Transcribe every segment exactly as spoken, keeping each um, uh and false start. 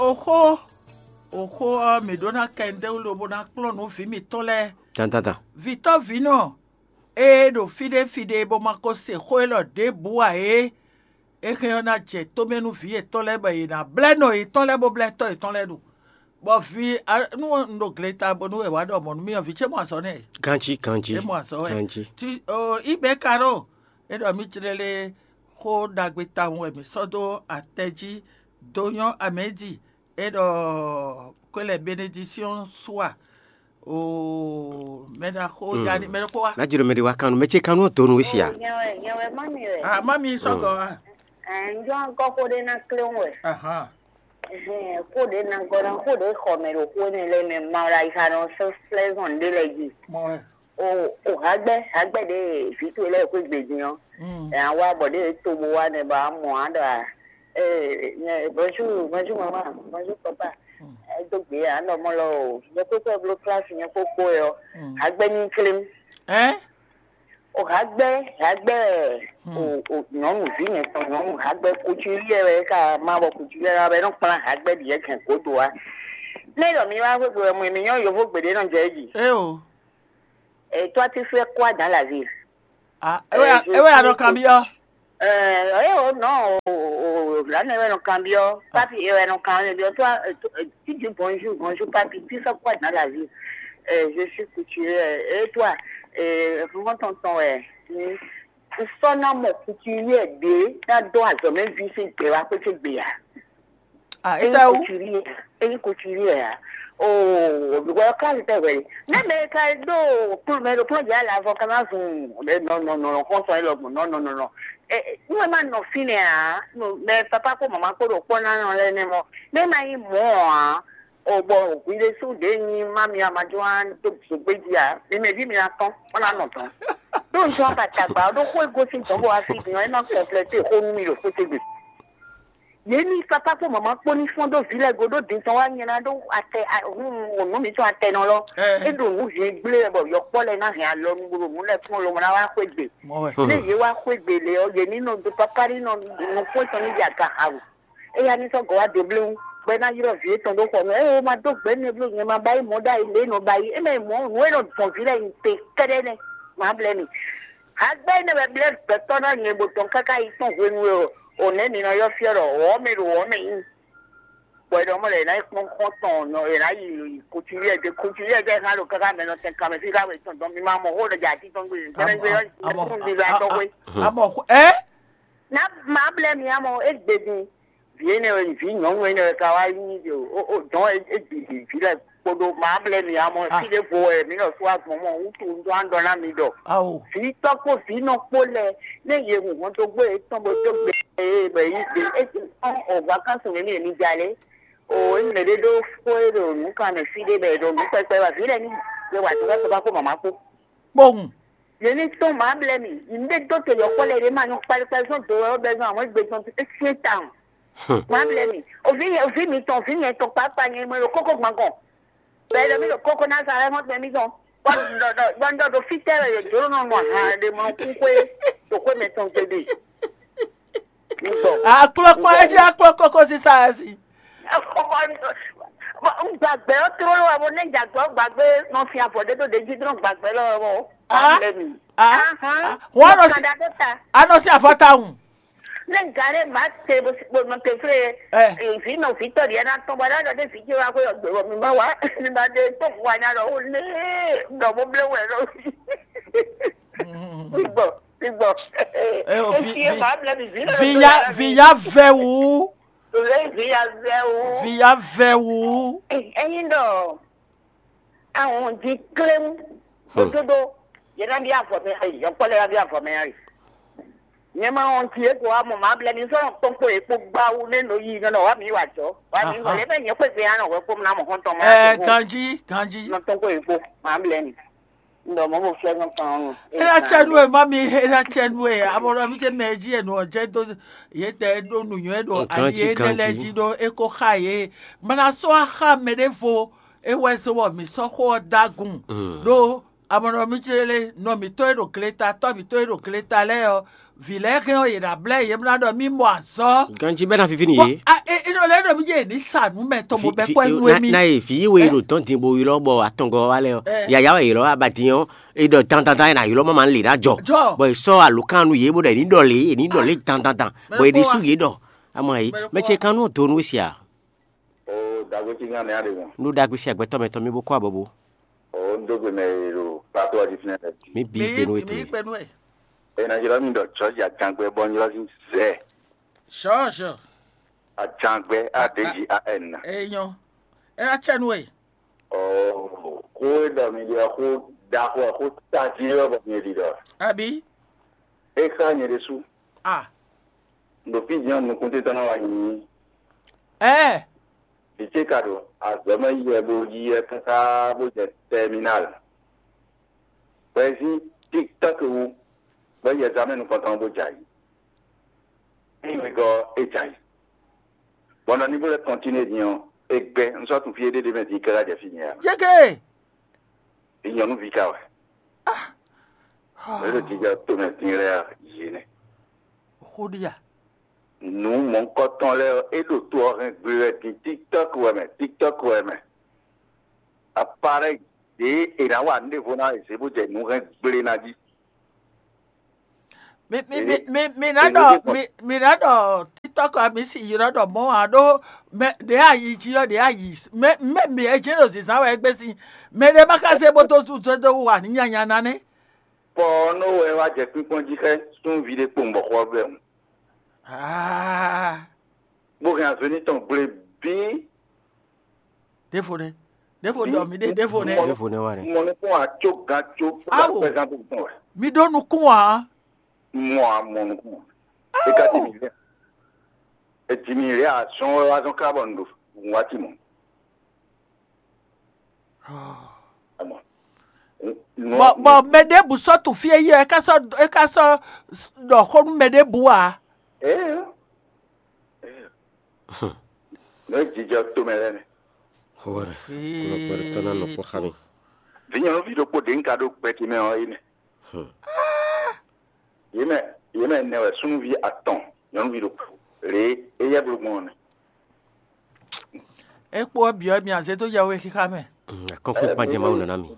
Oxó, oxó ɔ́, mǐ ɖó ná kɛ ndéwú lobo ná kplɔ́n nǔ vǐ mǐtɔn lɛ́ɛ. Dandandan. Vǐtɔ́vǐnɔ e ɖo fí ɖé fí ɖé bó ma ko se xó élɔ́ ɖěbǔ ǎ é, é hɛn ɔ́ ná jɛ tómɛ nú vǐ yětɔn lɛ́ɛ bɔ yě ná blɛ́ nɔ yětɔn lɛ́ɛ bó blɛ́ tɔ́ yětɔn lɛ́ɛ ɖu. Bɔ vǐ, nú un ɖo gleta bónú è wǎ ɖɔ mɔ̌ nú mì ɔ́, vǐ ce mɔ azɔ̌ nɛ́. Ganjí, ganjí. É mɔ azɔ̌ wɛ. Ganjí. Tí o, ibɛ̌ ka ɖo é ɖɔ mì jlé lé xó ɖagbe tawun wɛ mǐ sɔ́ dó atɛ jí dó nyɔ́ amɛ̌di é ɖɔ kwɛ́ lɛ benedisíɔn sua o mɛ ɖaxó ya ní mɛ ɖokpó wá. Ná jiro mɛ ɖé wá kánú, mɛ ce kánú ɔ́ donu wé sia. Nyɛ wɛ, nyɛ wɛ má mi wɛ. Ah, má mi sɔgɔ wá. Ɛ, njɔ ŋkɔ xó ɖé ná klé wɛ. Ahan. Ɛhɛn, xó ɖé ná gɔ́ ná xó ɖé xɔ mɛ ɖo xó énɛ́ lɛ́ɛ mɛ ma wla yi xa nɔ sɛ́ flɛ́zɔn ɖé lɛ́ɛ jí. Mɔ wɛ. O, o hagbɛ, hagbɛ ɖe vǐ towe lɛ́ɛ xwé gbe din ɔ́. Mm. Ɛ, a wá bɔ ɖe to bo wá nɛ bɔ a mɔ a ɖɔ a. Ee, nyɛ, bonjour, bonjour maman, bonjour papa. Mm. Ɛ, dó gbe a nɔ mɔ lɔ o. Nyɛ kpékpé bló klasi nyɛ kpókpó yɔ. Mm. Hagbɛ ní klém. Ɛ? O hagbɛ, hagbɛ o, o nyɔnu vi nyɛ tɔn nyɔnu hagbɛ kutu yɛ wɛ ka ma bɔ kutu yɛ wɛ nɔ kplán hagbɛ ɖi yɛ kɛn godo wa. Ne ɖɔ mi wá xwé gbe wɛ mɔ mi nyɔ yovo gbeɖé nɔ jɛ jí. É o. Et toi, tu fais quoi dans la vie? Ah, é wɛ, é wɛ a nɔ kanbyɔ́. Euh, eh, oh non, oh, oh, là, ne wɛ nɔ kanbyɔ́. Papi, é wɛ nɔ kanbyɔ́. Toi, euh, tu, euh, tu dis bonjour, bonjour, papi. Tu fais quoi dans la vie? Euh, je suis couturier. Et toi? Euh, vraiment tonton, ouais. Hmm. Tu sors dans mon couturier, bien, dans deux ans, même vie, c'est que la petite bien. Ah, eyi kutulie, eyi kutulie ya. Oh, because class tɛ wɛ. Ne mɛ ka do kplu mɛ do kplu dza la vɔ kama zun. No, no, no, no, kɔn sɔn elɔ gbɔn. No, no, no, no. Eh, nu ma nɔ fi nɛ a. No, mɛ papa ko mama ko do kpɔ na nɔ lɛ ne mɔ. Ne ma yi mɔ a. O bɔ gwi ɖe su ɖe nyi ma mi ama jo an do zogbe ji a. Mi mɛ vi mi na tɔn. Ona nɔ tɔn. Do nsɔ ba tagba. Do ko egosi dɔn bo afi bi. E ma complète ko nu mi do ko te gbe. Yě ní papá kpó màmá kpó ní fɔ́n dó vǐ lɛ́ɛ go ɖó din tɔn wá nyɛ ná ɖó atɛ, nǔ mǐtɔn atɛnɔ lɔ. É ɖo nǔ vǐ gblé wɛ bɔ yɔkpɔ́ lɛ́ɛ ná hɛn alɔ nú bó ɖo nǔ lɛ́ɛ kplɔ́n lobo ná wá xwé gbe. Mɔ wɛ. Ní yě wá xwé gbe lě ɔ́, yě ní nɔ dó papá ní nɔ nukún tɔn ní ya ga ha wǔ. Éya ní sɔ́ gɔ̌ wá dó blé wú, bɔ é ná ylɔ́ vǐ étɔn ɖó xɔ mɛ. Ée ma dó gbɛ̌ nɛ́ bló nyɛ ma ba yí mɔ̌ ɖ'ayǐ lě nɔ ba yí. É mɛ mɔ̌ nǔ e nɔ gbɔn vǐ lɛ́ɛ nyi te kɛ́ɖɛ́ nɛ́. Má blɛ́ mi. Hagbɛ́ énɛ́ wɛ blɛ́ gbɛtɔ́ ná nyɛ bó tɔn káká yi kpɔ́n hwenu e o nɛ̌ mi nɔ ylɔ́ fyɔ́ ɖɔ wɔ̌ mɛ ɖo wɔ̌ mɛ nyí. Bɔ è ɖɔ mɔ lɛ è nǎ yi kpɔ́n xɔ́ntɔn nɔ è nǎ yi kucuwíɛ dé kucuwíɛ dé hán ɖo káká mɛ nɔ tɛn kanmɛ fí ká wɛ tɔn dɔn mi ma mɔ xó ɖe dza atí tɔn gbé gbɛnɛgbɛ ɔ́ tún ɖi la tɔn xwé. Amɔ ɛ? Ná má blɛ́ mi amɔ é gbe din. Vǐ énɛ́ wɛ vǐ nyɔ̌nu énɛ́ wɛ ka wá nyí o dɔn é gbi vǐ lɛ kpoɖo má blɛ́ mi amɔ fí ɖěvo wɛ mǐ nɔ sú agbɔn mɔ wútu un dó an ɖɔ ná mi ɖɔ. Vǐ tɔ́ kpó vǐ nɔ kpó lɛ nɛ yě hun hɔn dó gbé yětɔn bó dó gbe yě bɔ yě yí gbe é ti kpɔ́n o vacances mɛ mi yě mi ja lé. O é mɛ ɖé ɖó xó é ɖo nǔ kan mɛ fí ɖé bɔ è ɖo nǔ kpɛkpɛ wɛ vǐ lɛ́ɛ ní gbé wǎ dó bá kó mama kpó. Kpowun. Yě ní tɔ́n mǎ blɛ́ mì, yě ní ɖe dó te yɔkpɔ́ lɛ́ɛ ɖě ma nyɔ́ kpalíkpalí zɔ́n do wɛ ɔ́ bɛ́ zɔ́n àwọn égbé tɔn é syɛ́n tawun. Má blɛ́ mì, òví òví mi tɔn, òví nyɛ tɔn kpákpá nyɛ mɛ ɖo kókó gbɔn gɔn. Bɔ è ɖɔ mì ɖo kókó ná sa lɛ́ mɔ́ tɛn mì tɔn. Bɔ un ɖɔ ɖɔ fítɛ́ wɛ yě jló nɔ nɔ ahan ɖe mɔ kúkú é ɖo xwé mɛ tɔn gbe ɖe. Aklɔkpa ɛ jẹ́ aklɔ kókó sísá ɛ sí. Gbàgbé ɔ tró ló wà bó ní ìjàgbọ́ gbàgbé nọ fi àbọ̀ dé tó dé jí dúró gbàgbé lọ́wọ́ bó. Wọ́n á lọ sí Kàdá tó ta. A nọ sí àfọ́tàhùn. Ní gàdé màá tẹ bó sì gbóná tẹ fúlẹ̀. Ìfì náà fi tọ̀ díẹ̀ náà tán bọ́dá lọ́dẹ fi jẹ́ wá pé ọ̀gbẹ̀rọ̀ mi bá wá mi bá dé tó fún wa ní àlọ́ ó lé dọ̀bọ̀ bẹ́ẹ̀ wẹ̀ lọ. Gbígbọ̀ gbígbọ̀. Efi màá blẹ̀ mi vi náà. Viya viya vɛ wu. Viya vɛ wu. Viya vɛ wu. Ẹyin dɔ. Àwọn di klem òdodo yẹn náà bí àfọ̀mẹ́ ayé yẹn kpọ́lẹ́ náà bí àfọ̀mẹ́ ayé. Nyɛ ma wɔn ti eko wa mɔ ma blɛ mi sɔrɔ kpɔnkpɔ eko gbawu ne no yi nɔ wa mi wa jɔ wa mi wɔ lɛ bɛ nyɛ kpe gbe anɔ wɛ kpom na mɔ hɔn tɔn ma. Ɛɛ ganji ganji. Nɔ tɔnkpɔ eko ma blɛ mi. Ndɔ mɔ bo fɛ nɔ kan nɔ. Ena tsɛ nu e ma mi ena tsɛ nu e amɔ mi tɛ mɛ ji e nɔ jɛ do ye tɛ do nu nyɔ e do ali e ne lɛ ji do eko xa ye. Mana sɔ axa mɛ de vo e wɛ so wɔ mi sɔ xɔ dagun do. Amɔnɔ mi jlé lé, nɔ mǐtɔn e ɖo gleta, tɔ́ mǐtɔn e ɖo gleta lɛ́ɛ ɔ́, vǐ lɛ́ɛ hɛn ɔ́, yě ná blɛ́ yě ná ɖɔ mì mɔ azɔ́. Ganjí bɛ́ ná víví n'i yě. A e e nɔ lɛ́ ɖɔ mì jɛ yě ní sa nǔ mɛ tɔn bó bɛ́ kɔ́ nú émí. Na ye vǐ we ɖo dɔn din bo ylɔ́ bɔ atɔngɔ wa lɛ ɔ́, yaya wɛ ylɔ́ abadin ɔ́, e ɖɔ dandandan e na ylɔ́ mama lě ná jɔ. Jɔ. Bɔ è sɔ́ alǒkan nú yě bó ɖɔ è ní ɖɔ lě è ní ɖɔ lě dandandan, bɔ è ɖésú yě ɖɔ. Ama yi mɛ ce kan nú do nú we sia. O dagbe ci nya nɛ aɖe mɔ. Nú ɖagbe sia gbɛtɔ́ mɛ tɔn mi bó kɔ abɔbó. O n dó gbe mɛ e ɖo kpató ɔdi fínɛ lɛ. Mi bi gbenu ètò mi yìí. Gbenu ɛ. E na jlɔ mi ɖɔ tsɔ́ ja jangbe bɔ n jlɔ si zɛ. Sure, sure. Ajangbe a d g a n. Eyɔn. E na tsɛ nu ɛ. O xó e ɖɔ mi ɖe xó ɖaxó xó tají e wɛ bɔ mi ɖi ɖɔ. Abi. E xa nyɛ ɖésú. Ah. Ɖo fí jɛn nukúntíntɔ́ ná wá nyi. Ɛɛ. Vǐ ce ka ɖo azɔ̌ mɛ yi wɛ bó yi wɛ káká bó jɛ tɛminal. Bɔ é zín TikTok wú, bɔ é yi ɛzamɛ nukɔntɔn bó jɛ ayǐ. Ényí wegɔ́ ɔ́, é jɛ ayǐ. Bɔ nɔ ní bó lɛ́ kɔntínué din ɔ́, é gbɛ́. Un sɔ́ tunwun fí é ɖe ɖ'é mɛ din káká jɛ fí nyɛ ǎ. Yége! Vǐ nyɔ̌nuví ka wɛ. Mɛ ɖo jijɛ tomɛ din lɛ́ɛ ɔ́, yě nɛ́. Xó ɖi a? Nǔ mɔ̌hunkɔtɔn lɛ́ɛ ɔ́, é ɖo to ɔ́ hɛn gbe wɛ din TikTok wɛ mɛ, TikTok wɛ mɛ. Aparɛ́yi ɖě è nǎ wa nǔ ɖěvo ná è zě bó jɛ nǔ hɛn gble ná jí. Mi mi mi mi mi ná ɖɔ mi mi ná ɖɔ TikTok ɔ́ mi si yi nɔ ɖɔ mɔ̌ ǎ ɖó mɛ ɖě ayi jí ɔ́ ɖě ayi mɛ mɛ mi ɛ jɛ́n ɖo zǐnzán wɛ é gbé sín mɛ ɖé má ka zé bó dó dó dó wa ní nyanya ná nɛ́. Pɔ ɔ́ nɔ wɛ wá jɛ kpínkpɔ́n jí xá súnví ɖé kpowun bɔ xɔ ɔ́ bɛ́ hun. Aa. Bó hɛn azɔ̌ énɛ́ tɔn gble bíí. Ɖěvo nɛ́. Ɖěvo ɖɔ mǐ ɖe ɖěvo nɛ́. Ɖěvo nɛ́ wá nɛ́. Mɔ nukún acó gan có. Awo. Kpɛzán tó tɔn wɛ. Mi ɖó nukún ǎ. Mɔ a mɔ nukún. É ka ti mi lé. É ti mi lé azɔn wɛ wá zɔn ká bɔ un ɖo un wá ti mɔ. Bɔ bɔ mɛ ɖěbǔ sɔ́ tunwun fí e yí ɔ́, é ká sɔ́ é ká sɔ́ ɖɔ xó nú mɛ ɖěbǔ ǎ. Nɔ jijɔ tomɛ lɛ́ɛ nɛ. Xó wɛ mɛ. Kplɔ́kplɔ́ ɖé tɔ́ ná nɔ kpɔ́ xá mì. Vǐ nyɔ̌nuví ɖokpó ɖě un ka ɖó gbɛjí mɛ ɔ́ é nɛ́. Yě mɛ yě mɛ nɛ wɛ súnnuví atɔn nyɔ̌nuví ɖokpó. Lě e éyɛ́ bló gbɔn ɔ́ nɛ́. É kpó ɔ́ bǐ ɔ́, mi azé dó yɛhwexixa mɛ. Akɔ́nkpinkpan jɛ Mawu nɔ ná mi.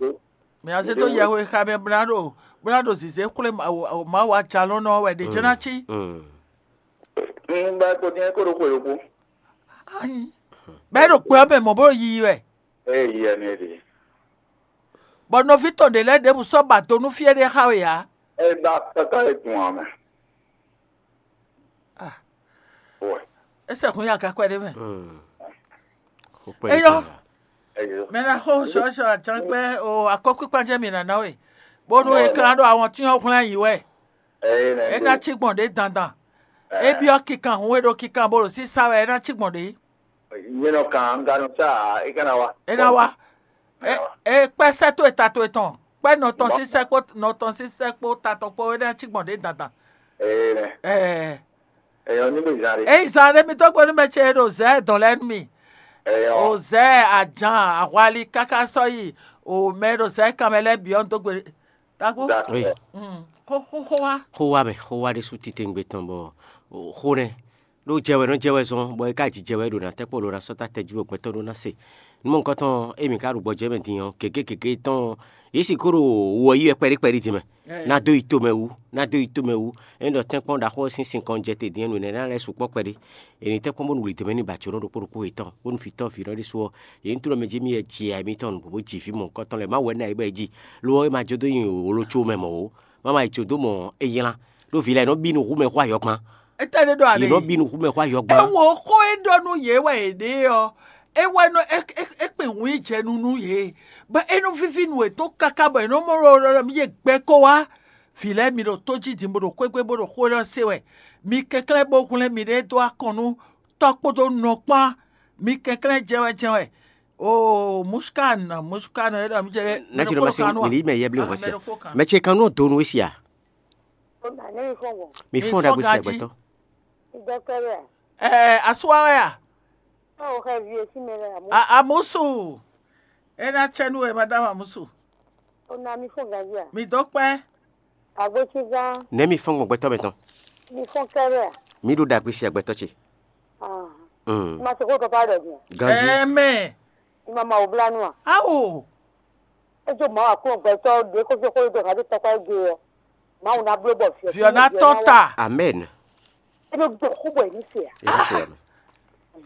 Mi azé dó yɛhwexixa mɛ bó ná ɖo bó ná ɖo zǐzé xwlé Mawu Mawu ajalɔ́nɔ wɛ ɖě jɛ́n ná cí. Un ba ko din ko ɖo xwe ɖokpó. Anyi. Bɛ́ ɖo kpe ɔ́ mɛ mɔ̌ bó ɖo yiyi wɛ. Eye yi ɛnɛ ɖe. Bɔ nɔví tɔn ɖě lɛ́ɛ ɖěbǔ sɔ́ ba do nú fí éɖée xá we ǎ. É ba kaka e dun ame. Ah. Ouais. É sɛkún ya gakwɛ́ ɖé mɛ. Eyɔ. Mɛ ná xó sɔ́sɔ ajánkpɛ́ o akɔ́kpíkpán jẹ́ mi nǎ ná we. Bónú é klán ɖo awɔntín ɔ́ hwlɛ́n ayǐ wɛ. É ná cí gbɔn ɖě dandan. É byɔ́ kikan hun e ɖo kikan bo ɖo sísá wɛ é ná cí gbɔn ɖě. Nyɛ nɔ kan un ka nɔ sa é ka ná wá. É ná wá. É kpɛ́ sɛ́ towe ta towe tɔn kpɛ́ nɔ tɔn sín sɛ́ kpó nɔ tɔn sín sɛ́ kpó ta tɔn kpó é ná cí gbɔn ɖě dandan. Ɛɛ. Ɛɛ. Ɛyɔ ní bó zan ɖe. Eyi zan ɖé mi dó gbe nú mɛ ce e ɖo zɛ̌ dɔn lɛ́ɛ nú mi. Ɛyɔ. O zɛ̌ ajan ahwali káká sɔ́ yi o mɛ e ɖo zɛ̌ kanmɛ lɛ́ɛ bǐ ɔ́ dó gbe. Tago. Dakɔ. Xó xó xó wá. Xó wá mɛ xó wá ɖésú titewungbe tɔn bɔ xó nɛ́ ɖó jɛ wɛ nɔ jɛ wɛ zɔn bɔ é ka ji jɛ wɛ ɖo ná tɛ́ kpó ɖo ná sɔ́ ta tɛ́ jí bɔ gbɛtɔ́ ɖó ná se. Nú mɔ̌hunkɔtɔn émí ka ɖo gbɔjɛ́ mɛ din ɔ́, gěgé gěgé tɔn yě sixú ɖo wɔ yí wɛ kpɛɖí kpɛɖí din mɛ. Ná dó yi tomɛ wú, ná dó yi tomɛ wú. Ényí ɖɔ tɛ́nkpɔ́n ɖaxó ɔ́ sín sinkɔn jɛ te din ɔ́, nǔ énɛ́ ná lɛ́ sukpɔ́ kpɛɖé. È nǐ tɛ́nkpɔ́n bónú wlǐdó mɛ ní ba jǒnɔ ɖokpó ɖokpó yětɔn, bónú vǐtɔ́ vǐnɔ ɖésú ɔ́, yě ní tló mɛ jí mì wɛ ji ya émítɔn nǔgbó bó ji vǐ mɔ̌hunkɔtɔn lɛ́ɛ. Mawu wɛ ná yě bɔ é ji, lo ɔ́, é ma jó dó nyi wǒ ló có mɛ mɔ̌ ó. Má ma yi jó dó mɔ é nylá, ɖó vǐ lɛ́ɛ nɔ bí nú hú mɛ xó ayɔ́gbán. Étɛ́ ɖé ɖɔ Yě ale? Nɔ bí nú hú mɛ xó ayɔ́gbán. Ewo xó e ɖɔ nú yě wɛ è ɖe ɔ́, é wɛ nɔ é é é kpin hun yi jɛ nu nú yě, bɔ é nɔ víví nú yětɔn káká bɔ è nɔ mɔ ɖɔ ɖɔ mi yé gbɛ kó wá. Vǐ lɛ́ɛ mi ɖo tó jí din bó ɖo xwégbé bó ɖo xó élɔ́ se wɛ. Mi kɛnklɛ́n bó hwlɛ́n miɖée dó akɔn nú tɔ́ kpódó nɔ kpán. Mi kɛnklɛ́n jɛ wɛ jɛ wɛ. Oo, musukan musukan é ɖɔ mi jɛ. Ná ci ɖɔ ma se mi ní mɛ yɛ blé hɔn sɛ. Mɛ ce kan nɔ do nu esi a? Mi fɔn ɖagbe sɛ gbɛtɔ. Ɛɛ, asuwa wɛ a? Amusu. É ná tsɛ nú wɛ madame Amusu. O na mi fún ganjí a? Mi dó kpɛ́. Agbósígán. Nɛ̌ mi fɔ́n gbɔn gbɛtɔ́ mɛtɔn? Mi fún kɛ́ɖɛ́ a? Mi ɖo ɖagbe si agbɛtɔ́ ce. Ah. Mm. Ma se kó papa ɖɔ din. Ganjí. Ɛmɛ. Ima ma wò bla nu a? Awo. Edzo ma wa kún gbɛtɔ́ ɖe kó fi kó do hadi tɔkpa ege ɔ. Mawu na bló bɔ fiɔ. Fiɔ na tɔ ta. Amen. Eno do kó bɔ enu se a? Èyí ṣe yàrá.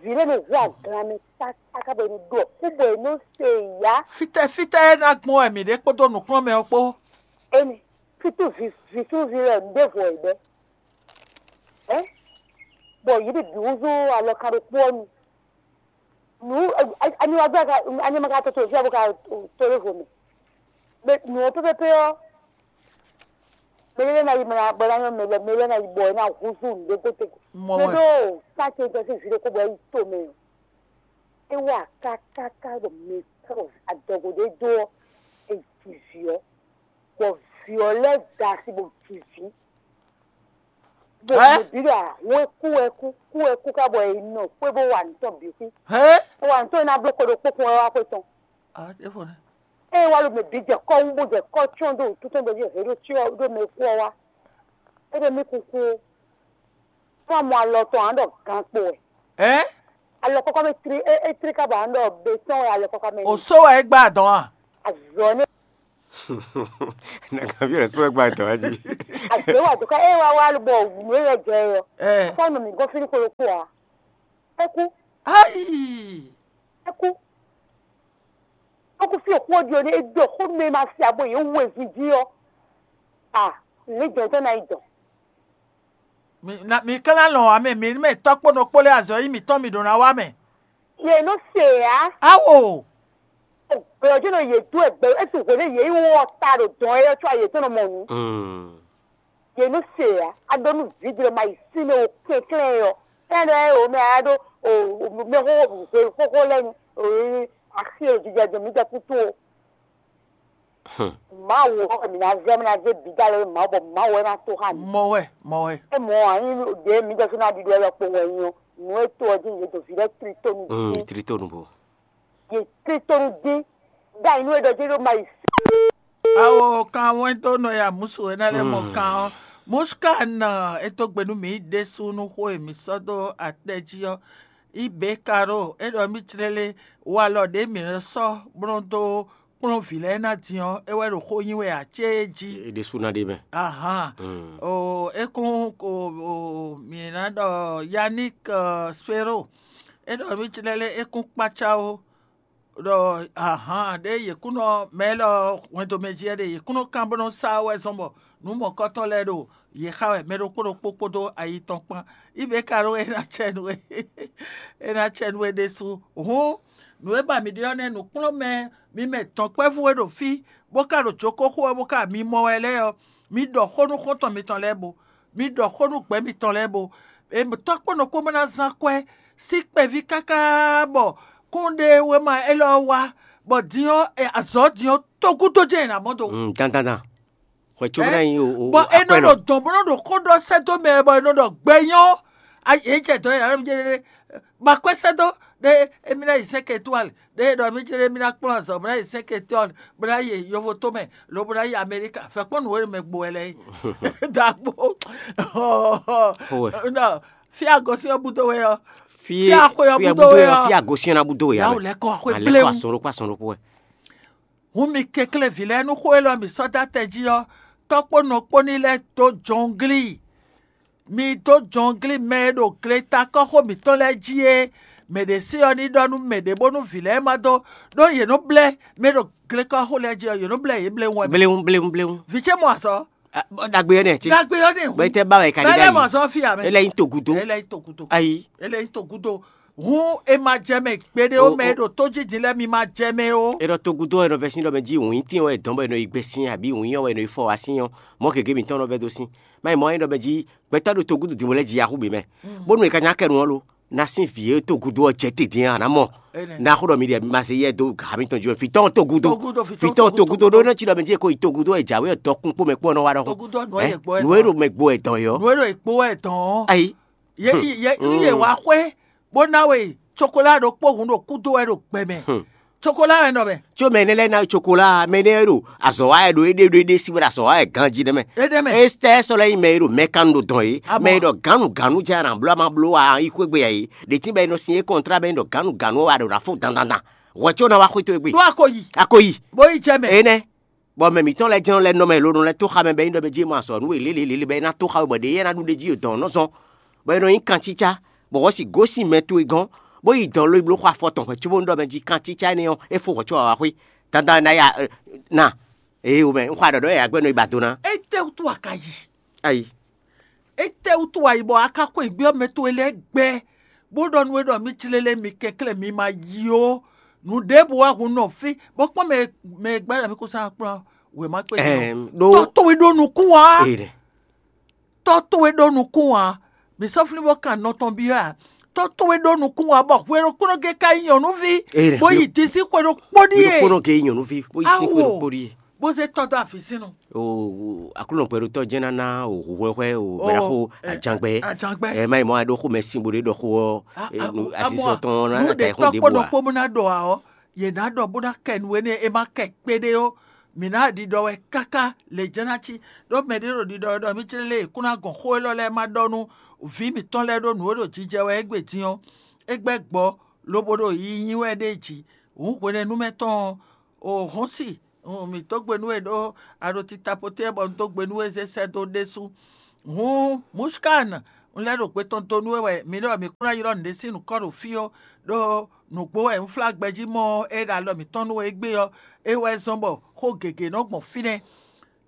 Vile ne hu aglan mɛ tata ká bɔ enu do kó bɔ enu se ya. Fitɛ fitɛ ná gbɔn wɛ mi ɖe kpódó nǔkplɔ́nmɛ ɔ́ kpó. Eni fitu vi fitu vi lɛ ɖěvo ɛ bɛ. Ɛ bɔ yi ɖi bi wúzú alɔ kan ɖokpó ɔ́ nu. Nǔ ani wá gbé ani ma ka tɔtɔ fia bó ka to ɖěvo mɛ. Mɛ nǔ ɔ́ pépépé ɔ́, mɛ lɛ́ ná yi mɛ ná bɔ ná nyɔ́ mɛ lɛ́ mɛ lɛ́ ná yi bɔ é ná húzú nǔɖé gotego. Mɔ Mɛ wɛ. Ɖó káce jɛ sín vǐ ɖokpó bɔ é yi to mɛ ɔ́, é wá kákáká ɖo mɛ ká ɖo adɔgo ɖé dó ɔ́, é ji vǐ ɔ́, bɔ vǐ ɔ́ lɛ́ da asi bɔ ji vǐ. Bɔ Ɛ? Mɛ bǐ ɖo ahɔn é kú wɛ kú kú wɛ kú ká bɔ é nɔ xwé bó wa nǔ tɔn bǐ xwí. Hɛn? Bó wa nǔ tɔn é ná bló xwe ɖokpó kún wɛ wá xwé tɔn. Ah, é fɔ nɛ. Eye wá ɖo mɛ bǐ jɛ kɔ́ wú bó jɛ kɔ́ cyɔ́n dó wǔtú tɔn bɔ jí hě ɖo cyɔ ɖó mɛ kú ɔ́ wá. É ɖo mí kúkú ó. Fún amɔ alɔ tɔn ǎ ɖɔ gan kpo wɛ. Ɛ? Alɔ kɔkɔ mɛ tri é é tri kábɔ ǎ ɖɔ be tɔn wɛ alɔ kɔkɔ mɛ. O só wɛ é gbá dɔn a? Azɔ ní. Nàgàbí rẹ̀ só wɛ gbá dɔn a jí. Azɔ wà dùkọ́ é wá wá bɔ nǔ é yɛ jɛ yɔ. Ɛ. Fún àmì mi gɔ́ fínní kolo kú a. É kú. Ayi. É kú. Ó kú fí òkú ɔ́ ɖi ɔ́ ní é ɖɔ xó mɛ ma se abo yě wu ezun jí ɔ́. A ní jɔn tɔn ná yi dɔn. Mi na mi ka ná lɔn wǎ mɛ mi mɛ tɔ́ kpó nɔ kpó lé azɔ̌ yi mǐtɔn mi ɖǒ ná wá mɛ. Yě nɔ se ǎ. Awo. Gbɛ̀yɔ́ jẹ́ nɔ yě dó ẹgbẹ́ é tún hwě nú yě yi wɔ ta ɖo dɔn é ɔ́ có ayě tɔn nɔ mɔ nǔ. Yě nú se ǎ, a ɖó nú vǐdro ma yi sín mɛ o kɛnklɛ́n ɔ́. Kɛ́n ɖɔ ɛ o mɛ a ɖó o mɛ xóxó hwe xóxó lɛ́ɛ ni o axi e jijɛ dɔn mǐ jɛ kútú o. Mawu ɔ́ wɛ mǐ ná zɛ mí ná zé bǐ dó alɔ e Mawu bɔ Mawu wɛ ná tó xá mǐ. Mɔ wɛ, mɔ wɛ. É mɔ ǎ nyí ɖě mǐ jɛ fí ná ɖiɖɔ wɛ ɖɔkpowun wɛ nyí ɔ́, nǔ e to ɔ́ jí yě ɖo vǐ lɛ́ɛ tlí tó nú dín. Tlí tó nú bo. Yě tlí tó nú dín. Ɖó ayǐ nú e ɖɔ jí ɖó ma yi Awo kan wɛn dó nɔ ya musu e ná lɛ́ mɔ kan ɔ́. Musu ka nɔ e dó gbe nú mǐ ɖésú nú xó e mǐ sɔ́ dó atɛ jí ɔ́. Ibě ka ɖo é ɖɔ mì clélé walɔ ɖě mǐ nɔ sɔ́ bló dó kplɔ́n vǐ lɛ́ɛ ná din ɔ́, é wɛ ɖo xó nyi wɛ ǎ cé jí. É ɖésú ná ɖe mɛ. Ahan. Mm. O é kún o o mǐ ná ɖɔ Yannick Spero. É ɖɔ mì clélé é kún kpácá ó. Ɖɔ ahan ɖé yě kún nɔ mɛ élɔ́ hwɛndo mɛ jí wɛ ɖe yě kún nɔ kán bó nɔ sa wɛ zɔn bɔ nǔ mɔ̌kɔtɔn lɛ́ɛ ɖo yě xa wɛ mɛ ɖokpó ɖokpó kpódó ayi tɔn kpán. Ibe ka ɖó é ná cɛ nú we é ná cɛ nú we ɖésú. Hǔn nǔ e ba mǐ ɖe ɔ́ nɛ́ nǔkplɔ́nmɛ mi mɛ dɔ̌nkpɛvú e ɖo fí bó ka ɖo jǒkóxó wɛ bó ka mi mɔ wɛ lɛ́ɛ ɔ́, mi ɖɔ xó nú xɔ́ntɔn mitɔn lɛ́ɛ bo. Mi ɖɔ xó nú gbɛ̌ mitɔn lɛ́ɛ bo. Tɔ́ kpó nɔ kpó ma ná zán kwɛ́ sín kpɛví káká bɔ kún ɖe wěma élɔ́ wá, bɔ din ɔ́, azɔ̌ din ɔ́, togúdo jɛ́n è nǎ mɔ do. Dandandan. Xwɛ có ná nyí o. Bɔ é nɔ ɖo dɔ̌n bó nɔ ɖo xó ɖɔ sɛ́ dó mɛ bɔ é nɔ ɖɔ gbɛ nyɔ́. Yě jɛ dɔ̌n yě ná nɔ jɛ ɖe ma kwɛ́ sɛ́ dó ɖe émí ná yi sɛ́ kɛtúwali ɖe ɖɔ mí jɛ ɖe mí ná kplɔ́n azɔ̌ bó ná yi sɛ́ kɛtúwali bó ná yi yovo tó mɛ lo bó ná yi Amɛlika fɛkpɔ́n nǔ e mɛ gbo wɛ lɛ́ɛ yi. Dagbo. Nɔ fí agosín ɔ́ búdó wɛ ɔ́. Fí axwe ɔ́ búdó wɛ ɔ́. Fí agosín ɔ́ ná búdó wɛ. Yawu lɛ́ kɔ axwe bléwu. Asɔn ɖokpó asɔn ɖokpó wɛ. Hun mi kɛnklɛ́n vǐ lɛ́ɛ nú xó élɔ́ mǐ sɔ́ dó atɛ jí ɔ́, tɔ́ kpó nɔ kpó ní lɛ́ dó jɔnglí. Mi dó jɔnglí mɛ e ɖo gletakɔ́xo mǐtɔn lɛ́ɛ jí é. Mɛ ɖě sí ɔ́ ní ɖɔ nú mɛ ɖě bónú vǐ lɛ́ɛ ma dó ɖó yě nɔ blɛ́ mɛ e ɖo glekɔ́xo lɛ́ɛ jí ɔ́, yě nɔ blɛ́ yě bléwún wɛ. Bléwún bléwún bléwún. Vǐ ce mɔ azɔ̌. Ɖagbe ɔ́ nɛ́. Ɖagbe ɔ́ nɛ́. Bɔ é tɛ ba wɛ ka ɖi ɖ'ayǐ. Mɔ azɔ̌ fí amɛ. É lɛ́ nyí togudo. É lɛ́ nyí togudo. Ayi. É lɛ́ nyí togudo. Hǔn è ma jɛ mɛ gbeɖé ó mɛ e ɖo tó jí din lɛ́ɛ mi ma jɛ mɛ ó. É ɖɔ togudo ɛ nɔ vɛ́ sín ɖɔ mɛ jí wǐn tín wɛ dɔn bɔ è nɔ yi gbɛ sín abǐ wǐn ɔ́ wɛ è nɔ yi fɔ wá sín ɔ́, mɔ̌ gěgé mǐtɔn nɔ vɛ́ dó sín. Má nyí mɔ̌ é ɖɔ mɛ jí gbɛtɔ́ ɖo togudo din bɔ lɛ́ ji axú bǐ mɛ. Bónú è ka nya kɛ nu ɔ́ lo, ná sín vǐ e togudo ɔ́ jɛ te din a nǎ mɔ. Ná xó ɖɔ mi ɖe ma se yɛ dó ha mǐtɔn jí wɛ fǐtɔ́n togudo. Fǐtɔ́n togudo ɖó nɔ cí ɖɔ mɛ jí è ko yi togudo ɛ jǎwe ɔ́ dɔkun kpó mɛ kpó ɔ́ nɔ wá ɖɔhun. Togudo nǔ e yɛ gbɔ ɛ nǔ e ɖo mɛ gbo ɛ dɔn yɔ. Nǔ e ɖo ìkpó wɛ dɔn. Ayi. Yě yě yě wá xwé bó ná we cokolá ɖokpó hun ɖo kúdó wɛ ɖo gbɛ mɛ. Cokola wɛ nɔ mɛ. Tso mɛ énɛ́ lɛ́ɛ ná cokola, mɛ énɛ́ e ɖo azɔ̌ wa wɛ ɖo éɖée ɖo éɖée sí wɛ ɖo azɔ̌ wa wɛ ganjí nɛ́ mɛ. Éɖée mɛ. Estɛ́ sɔ́ lɛ́ nyí mɛ e ɖo mɛ kan ɖo dɔn é, Amɔ. Mɛ e ɖɔ gǎnnu gǎnnu jɛ anǎ bló a ma bló wa yi xwé gbe ǎ é. Ɖě tín bɔ è nɔ sin é kɔntrá bɔ é ɖɔ gǎnnu gǎnnu wɛ a ɖo ná fó dandandan. Hwɛ có ná wá xwé towe gbe. Ɖó a ko yi. A ko yi. Bó yi jɛ mɛ. Énɛ́. Bɔ mɛ mǐtɔn lɛ́ɛ jɛ́n lɛ́ɛ nɔ mɛ lo nɔ lɛ́ tó xa mɛ bɔ é nyí ɖɔ mɛ jí é mɔ azɔ̌ nú we lélelélé bɔ é ná tó xa we bɔ ɖě é ná ɖu ɖ'é jí ɖo dɔ̌n nɔ zɔn, bɔ é nɔ nyí kancícá, bɔ wɔ̌ si gosín mɛ towe gɔ́n, bó yi dɔn lo yi bló xɔ afɔ tɔn hwɛ̌ cóbó nú ɖɔ mɛ jí kancícá énɛ́ ɔ́, é fó hwɛ̌ có wǎ xwé. Dandan ná ya na. Ee o mɛ, un xɔ aɖɔ̌ɖɔ́ yǎyá gbɛ́ nɔ yi ba do ná. Étɛ́wútu a ka yi? Ayi. Étɛ́wútu a yi bɔ a ka xweyǐgbe ɔ́ mɛ towe lɛ́ɛ gbɛ, bó ɖɔ nú we ɖɔ mí jlé lé mi kɛnklɛ́n mi ma yi ó? Nǔ ɖěbǔ wɛ hun nɔ fí, bó kpɔ́n mɛ mɛ e gbɛ́ ɖɔ mí kó sán kplɔ́n wěma kpé din ɔ́. Ɛm, ɖó Tɔ́ towe ɖó nukún ǎ. Ee ɖɛ. Tɔ́ towe ɖó nukún ǎ. Mǐ sɔ́ flín bó kan nɔ tɔn byɔ́ ǎ. Tɔ́ towe ɖó nukún ǎ bɔ hwe ɖokpónɔ gé ka nyí nyɔ̌nuví, Ee ɖɛ. Bó yi dín sín xwe ɖokpó Hwe ɖíe. Ɖokpónɔ gé nyɔ̌nuví, bó yi sín xwe Awo. Ɖokpó ɖíe. Bó zé tɔ́ dó afi sín nu. O Aklúnɔ gbɛɖotɔ́ jɛ́n ná ná o hǔhwɛ́hwɛ́ o O, bɛɖaxó ɛ, ajangbɛ. Ajangbɛ. Ɛ má yi mɔ wá ɖó xomɛ sín bó ɖé ɖɔ xó ɔ́, A- e, a- nu- a- asisɔ amɔ, tɔn ɔ́ ná nú ná ta ɖě yi xó tɔ́ ɖěbǔ kpó ǎ. Ɖokpó bó ná ɖɔ ǎ ɔ́, yě ná ɖɔ bó ná kɛ nǔ énɛ́ e ma kɛ kpéɖé ó. Mǐ ná ɖiɖɔ wɛ káká lě jɛ́n ná cí. Ɖó mɛ ɖé ɖo ɖiɖɔ wɛ ɖɔ mí jlé lé è kún ná gɔn xó élɔ́ lɛ́ɛ ma ɖɔ nú vǐ mǐtɔn lɛ́ɛ ɖó nǔ e ɖo jijɛ wɛ égbé din ɔ́, é gbɛ́ gbɔ lobo ɖo yiyi nyi wɛ ɖ'é jí. Hǔn hwenɛ́nu mɛ tɔn ɔ́, o hɔ́n si, un mǐ dó gbe nú we ɖó a ɖo tita poté bɔ un dó gbe nú we zé sɛ́ dó ɖésú. Hǔn Mushkan, un lɛ́ ɖo gbe tɔn dó nú we wɛ mi ɖɔ mǐ kún ná ylɔ́ nǔɖé sín nǔkɔn ɖo fí ó, ɖó nǔgbó wɛ un flá gbɛjí mɔ ɔ́, é ɖo alɔ mǐtɔn nú we égbé ɔ́, é wɛ zɔ́n bɔ xó gěgé nɔ gbɔn fínɛ́.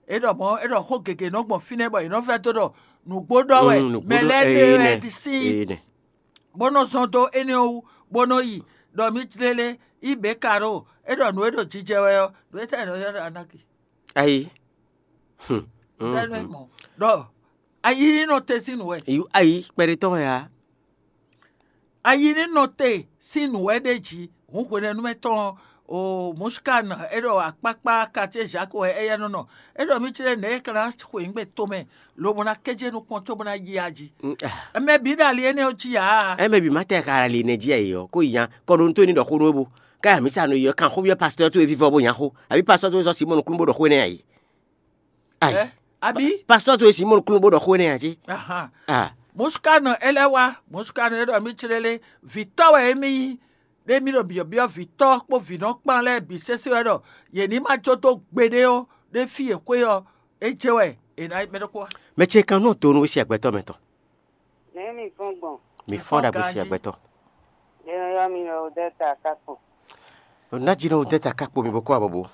É ɖɔ mɔ̌ é ɖɔ xó gěgé nɔ gbɔn fínɛ́ bɔ è nɔ vɛ́ dó ɖɔ nǔgbó ɖɔ wɛ Mm, nǔgbó mɛ ɖɔ- lɛ́ɛ ɖe ee, wɛ nɛ, ɖi sín ee, nɛ. Bó nɔ́ zɔ́n dó énɛ́ wú, bó nɔ́ yi, ɖɔ mǐ jlé lé, yí bě ka ɖo, é ɖɔ nǔ e ɖo jijɛ wɛ ɔ́, nǔ e tɛ́ nɔ ylɔ́ ɖɔ anáki. Ayi. Hmm. Tɛ́ nɔ mɔ ɖɔ ayi ní nɔ te sín nǔ wɛ. Ayi, kpɛɖé tɔn wɛ ǎ. Ayi ní nɔ te sín nǔ wɛ ɖ'é jí, hǔn hwenɛ́nu mɛ tɔn o Mushkan, é ɖɔ akpákpá quartier Jacques wɛ éyɛ́ nɔ nɔ. É ɖɔ mí jlé nɛ̌ é ka ná xweyǐgbe tomɛ lobo ná kéjé nukɔn cóbó ná yi aji. Mm, ah. Mɛ bǐ ɖo ali énɛ́ ɔ́ jí ǎ. Ɛ mɛ bǐ ma tɛ ka ali nɛ jí ayi ɔ́, kó yi nya kɔ ɖo nú tó ní ɖɔ xó nú é bu. Káyà mǐ sa nɔ yi ɔ́, kan xó byɔ́ pastɔ́ towe vívɔ́ bó nya xó, abǐ pastɔ́ towe sɔ́ Simɔ́ɔ nukúnnú bó ɖɔ xó énɛ́ ayi. Ayi. Ɛ, abǐ? Pastɔ́ towe Simɔ́ɔ nukúnnú bó ɖɔ xó énɛ́ ayi jí. Ahan. Ah. Muskánɔ é lɛ́ wá, Muskánɔ é ɖɔ mí clélé, vǐtɔ́ wɛ émí nyí, ɖé mí ɖo byɔ̌byɔ́ vǐtɔ́ kpó vǐnɔ kpán lɛ́ɛ bǐ sésé wɛ ɖɔ yě ní ma jó dó gbeɖé ó, ɖé fí e xwé ɔ́, é jɛ wɛ è nǎ yi mɛ ɖokpó wá. Mɛ ce kan nɔ do nú wé siagbɛtɔ́ mɛ tɔn. Nɛ̌ mi fɔ́n gbɔn? Mi fɔ́n ɖagbe siagbɛtɔ́. Yɛnɛyɔ́ mi ɔ́ dɛ́ ta kákpo. Ná jí nɔ dɛ́ ta kákpo mi bó kó abɔbó.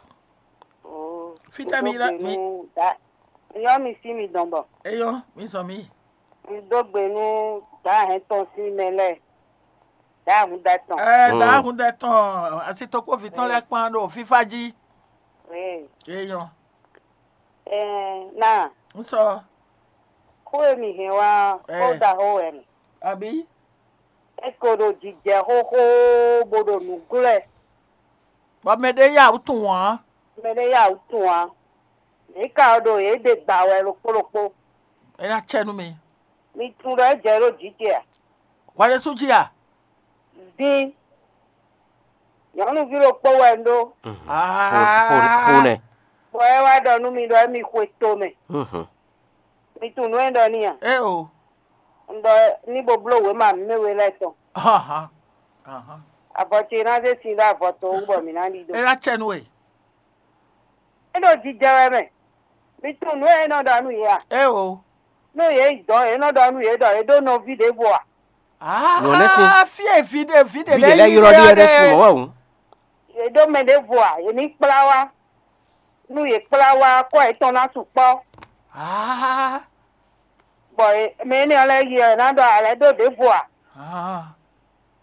Oo. Fítɛ́ mi lá mi. Yɔ mi sí mi dɔn bɔ. Eyɔ mi zɔn mi. Mi dó gbe nú dǎ hɛn tɔn sín mɛ lɛ́ɛ. Dǎ hun dá tɔn. Ɛ dǎ hun dá tɔn, asitɔkpɔ́ví tɔn lɛ́ɛ kpán ɖo fífá jí. Ee. Eyɔ. Ɛɛ, na. N sɔ. Xó e mi hɛn wá ɔ́, xó ɖaxó wɛ mɛ. Abǐ. É ko ɖo jijɛ xóxó bó ɖo nǔ glɔ́ ɛ. Bɔ mɛ ɖé ya wǔ tunwun ǎ. Mɛ ɖé ya wǔ tunwun ǎ. Mǐ ka ɔ́ ɖo yě ɖe gbǎ wɛ ɖokpó ɖokpó. É ná cɛ nú mi. Mi tunwun ɖɔ é jɛ ɖó jǐ ce a? Hwɛ ɖésú jí a? Dín. Nyɔ̌nuví ɖokpó wɛ un ɖó. Xo nɛ. Bɔ é wá ɖɔ nú mi ɖɔ émí xwe to mɛ. Mi tunwun nǔ e un ɖɔ n'i a? Éeǒ. Un ɖɔ ní bo bló wěma mǐmɛ́ we lɛ́ɛ tɔn. Avɔ ce ná zé sin ɖó avɔ to wú bɔ mǐ ná ɖidó. É ná cɛ nú we. É ɖo jijɛ wɛ mɛ. Mi tunwun nǔ e é nɔ ɖɔ nú yě a? Éeǒ. Nú yě yi dɔ̌, é nɔ ɖɔ nú yě ɖɔ é ɖó nɔví ɖěvo a? Nǔ ɔ́ nɛ́ sin. Fí e vǐ ɖe vǐ ɖe Vǐ ɖě lɛ́ɛ lɛ́ɛ ylɔ́ ɖi wɛ ɖésú mɔ̌ wɛ hǔn. Yě ɖó mɛ ɖěvo a? Yě ní kplá wá. Nú yě kplá wá, kɔ́ yětɔn ná sukpɔ́. Bɔ mɛ énɛ́ ɔ́ lɛ́ɛ yi ɔ́, è nǎ ɖɔ a lɛ́ ɖó ɖěvo a?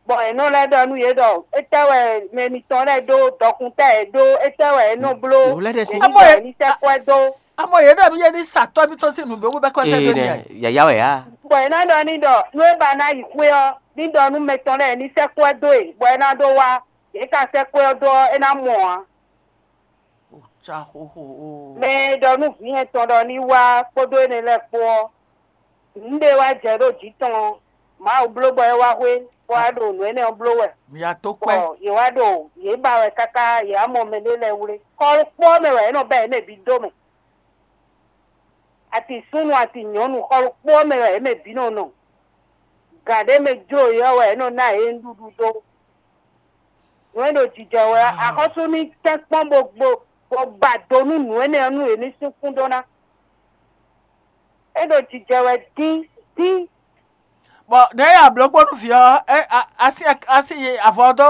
Bɔ è nɔ lɛ́ ɖɔ nú yě ɖɔ étɛ́ wɛ mɛ mitɔn lɛ́ɛ ɖó dɔkun tɛ́ yě ɖó, étɛ́ wɛ è nɔ bló Nǔ lɛ́ɛ ɖe sín. Yě ní ɖɔ yě ní sɛ́ kwɛ́ dó. Amɔ yě ɖɔ mì yě ní sa tɔ́ mitɔn sín nǔ ɖó wú bɛ́ kɔ sɛ́ dó n'i a? Yǎyá wɛ á. Bɔ è nǎ ɖɔ ní ɖɔ nú é ba ná yi xwé ɔ́, ní ɖɔ nú mɛ tɔn lɛ́ɛ ní sɛ́ kwɛ́ dó e, bɔ é ná ɖó wá. Yě ka sɛ́ kwɛ́ ɔ́ dó ɔ́, é ná mɔ ǎ. Ó cá xóxó ó. Mɛ e ɖɔ nú vǐ nyɛtɔn ɖɔ ní wá kpódó énɛ́ lɛ́ɛ kpó ɔ́, nǔɖé wá jɛ ɖó jǐ tɔn ɔ́, Mawu bló bɔ é wá xwé. bɔ wá ɖo nǔ énɛ́ ɔ́ bló wɛ. Mi ya tó kpɛ́. Bɔ yě wá ɖo yě ba wɛ káká yě wá mɔ mɛ ɖé lɛ́ɛ wlé. Xɔ ɖokpó ɔ́ mɛ wɛ yě nɔ bɛ́ yě mɛ bǐ dó mɛ. Ati súnnu ati nyɔ̌nu xɔ ɖokpó ɔ́ mɛ wɛ yě mɛ bǐ nɔ nɔ. Gǎn ɖé mɛ jló yě ɔ́ wɛ yě nɔ ná yě nǔɖuɖu dó. Nǔ e ɖo jijɛ wɛ ɔ́, axɔ́sú ní tɛ́nkpɔ́n bó bó bó ba do nú nǔ énɛ́ ɔ́ nú yě ní sín kún dó ná. É ɖo jijɛ wɛ dín dín. Bɔ nɛ̌ ya blǒ kpó nú vǐ ɔ́? É a- asi asi avɔ dó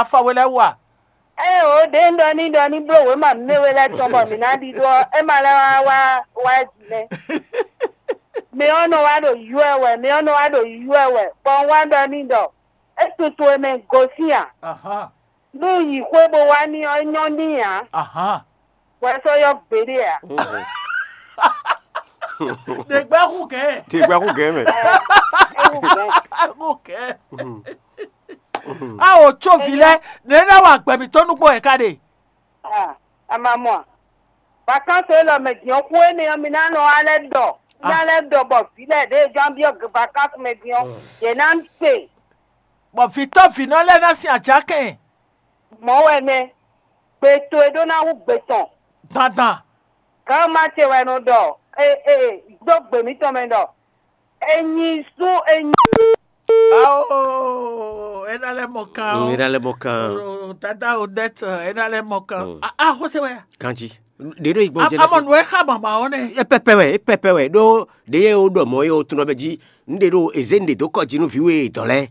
afɔ we lɛ́ɛ wú a? Ée o ɖě un ɖɔ ní ɖɔ ní bló wěma mɛ we lɛ́ɛ tɔn bɔ mǐ ná ɖidó ɔ́, é ma lɛ́ wá wá wá jí nɛ́. Mɛ ɔ́ nɔ wá ɖo ywɛ wɛ, mɛ ɔ́ nɔ wá ɖo ywɛ wɛ, bɔ un wá ɖɔ ní ɖɔ é tutu e mɛ gosín a? Ahán. Nú yi xwé bó wá ní ɔ́, é nyɔ́ ní ǎ. Ahán. Wɛ sɔ́ yɔ gbeɖé ǎ. Ɖe gbɛ́ xú gɛ̌. Ɖe gbɛ́ xú gɛ̌ mɛ. Ɛ, é wú gɛ̌. Xú gɛ̌. Mhm. Mhm. Awo tso vi lɛ, nɛ̌ ná wa gbɛ mǐtɔn nukpó wɛ ká ɖe? Ah, a ma mɔ a? Vacances élɔ́ mɛ din ɔ́, xú énɛ́ ɔ́, mi ná nɔ alɛ ɖɔ. Mi ná lɛ́ ɖɔ bɔ vǐ lɛ́ɛ ɖě e jɔ́n byɔ́ vacances mɛ din ɔ́, yě ná se. Bɔ vǐtɔ́ vǐnɔ lɛ́ɛ ná sin ajǎkɛn. Mɔ̌ wɛ nɛ́. Gbe towe ɖó ná hú gbe tɔn. Dandan. Gǎn ma ce wɛ nɔ ɖɔ e e dó gbe mǐtɔn mɛ ɖɔ e nyi sú e nyi. Ao, é ná lɛ́ mɔ kan. Mm, é ná lɛ́ mɔ kan. O, o, tata o dɛt, é ná lɛ́ mɔ kan. Mm. A a xɔse wɛ. Kanji. Ɖe ɖo igbɔ jɛ. Amɔ nù ɛ xa mama ɔ nɛ. E pɛpɛ wɛ, e pɛpɛ wɛ ɖó ɖe ye o ɖɔ mɔ ye o tunɔ bɛ jí. N ɖe ɖo eze n ɖe dó kɔ jí nú vǐ we dɔn lɛ.